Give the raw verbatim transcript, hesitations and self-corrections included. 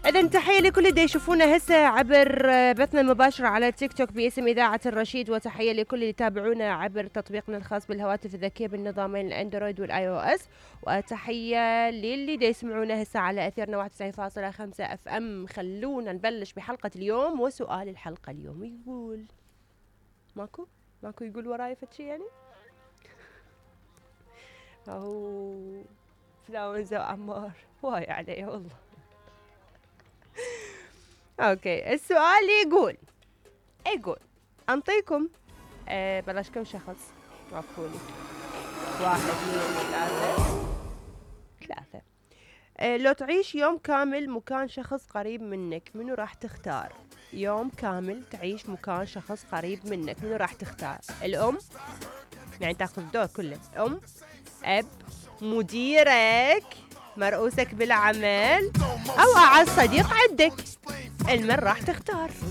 إذن تحية لكل اللي يشوفونا هسه عبر بثنا المباشر على تيك توك باسم إذاعة الرشيد، وتحية لكل اللي يتابعونا عبر تطبيقنا الخاص بالهواتف الذكية بالنظامين الأندرويد والآي أو إس، وتحية للي دا يسمعونا هسه على أثيرنا واحد وتسعين فاصلة خمسة أف أم. خلونا نبلش بحلقة اليوم، وسؤال الحلقة اليوم يقول ماكو ماكو يقول وراي فتشي يعني أهو فلاونزا وعمار واي عليه والله. اوكي السؤال يقول يقول انطيكم أه بلاش كم شخص وافقوني. واحد اثنين ثلاثة ثلاثة أه لو تعيش يوم كامل مكان شخص قريب منك، منو راح تختار؟ يوم كامل تعيش مكان شخص قريب منك، منو راح تختار؟ الأم يعني تاخذ الدور كله، أم، أب، مديرك، مرؤوسك بالعمل، أو أعز صديق عندك، المن راح تختار؟